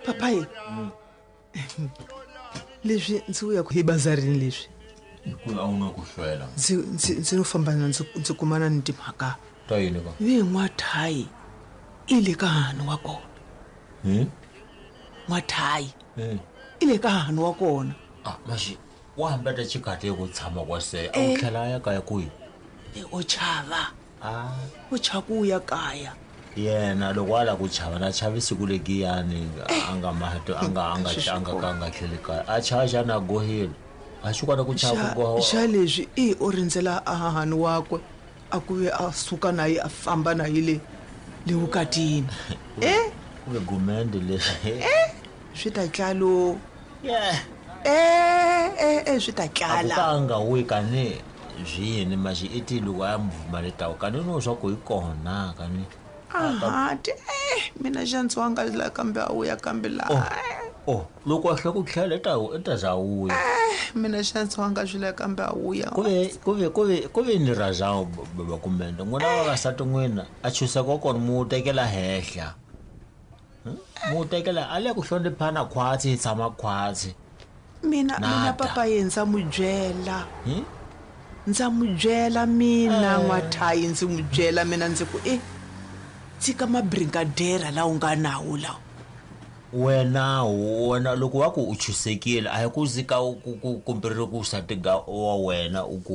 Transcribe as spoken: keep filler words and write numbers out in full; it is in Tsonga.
Papayi, leswi ndzi vuyaku hi bazarini leswi Ku a wu na ku hlwela. Ndzi ndzi ndzi no famba na ndzi ndzi kumana ni timhaka. Ta yini ka? Ve n'wathayi i le ka hahani wa kona. Hmm? N'wathayi Hmm. i le ka hahani wa kona. Ah, maxi wa hambeta xikati ku tshama kwase a wu Eh. tlhela a ya kaya kwihi? E o chava. Ah. O chava ku ya kaya. Yena loko a lava ku chava na chavi siku legiyani a nga mato a nga a nga a nga ka a nga tlheli kaya a chava xana a gohile a xi kota ku chava Xa ku goha. xa leswi i o rindzela a hahani wakwe a ku ve a suka na ye a famba na ye le le vukatini. Eh? Ku ve gumende leswi. Eh, swi ta tlalo. Yeah. Eh, eh, eh, swi ta A ku tlala. ka a nga wuyi kani byi yini maxi i ti loko a ya muvhuma le tawu kani no swa ku hi kona kani. Aha, ti eh mina xa ndzi wanga la kambe a wuya kambe la. Oh, oh, loko a hlwe ku tlhela i ta i ta za wuya. Eh, mina xa ndzi wanga swi la kambe a wuya. Ku ve ku ve ku ve ku ve ni raza baba kumende n'wina vavasati n'wina a chuseka wa kona mu tekela henhla. Hmm? Mu tekela a le ku hloniphana khwatsi hi tshama khwatsi. Mina mina Nada. papa ye ndza mu byela. Hmm? Ndza mu byela mina n'wathayi ndzi mu byela mina ndzi ku eh tshika mabrigadera lawa u nga nawo lawa. Wena wena loko wa ku u chusekile a hi ku zika ku ku kumbe ri ku sati ga wa wena u ku